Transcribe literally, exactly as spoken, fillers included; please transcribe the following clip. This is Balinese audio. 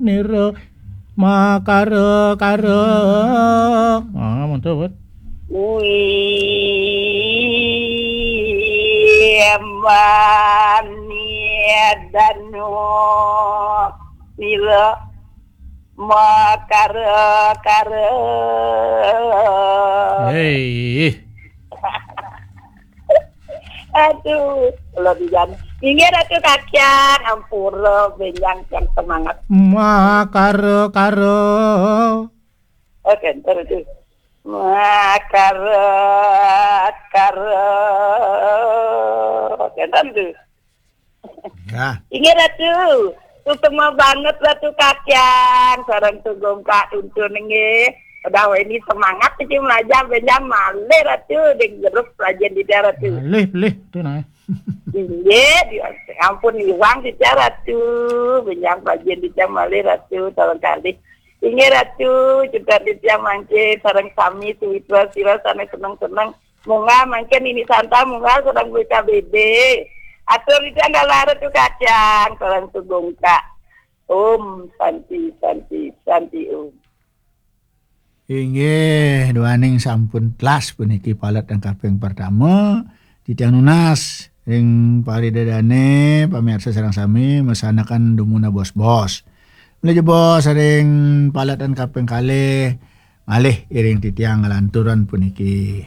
nira makara-kara. Ah, mantap, Bud. Wih, mani danu nira makara-kara. Hei. Aduh, kalau di jalan. Inggih Ratu Kakyang, ampura benjang yang semangat. Makara-kara. Oke, ntar itu. Makara-kara. Oke, ntar itu. Ya. Inggih Ratu, utama banget Ratu Kakyang, sareng Tugong Kak Untun nggih. Udah ini semangat iki belajar benjang malih Ratu, ding grup pelajar di daerah Ratu. Malih, malih, itu nah. Inggih, di-, ampun iwang di daerah Ratu, benjang pelajar di daerah malih Ratu, tolong kali. Inggih Ratu, juga di tiang mangke, sareng sami, suwitra sira sana seneng-seneng. Munggah mangke Nini Santa, munggah sareng B K B B. Atur di tiang dalar Ratu Kakyang, sareng Tugong Kak. Om Santi, Santi, Santi Om. Inggih, duaning sampun telas puniki palet yang kaping pertama. Titiang nunas ring paridadane, pamirsa sareng sami, masanakan dumunung bos-bos. Mula jebos ring palet yang kaping kalih, malih iring titiang nglanturan puniki.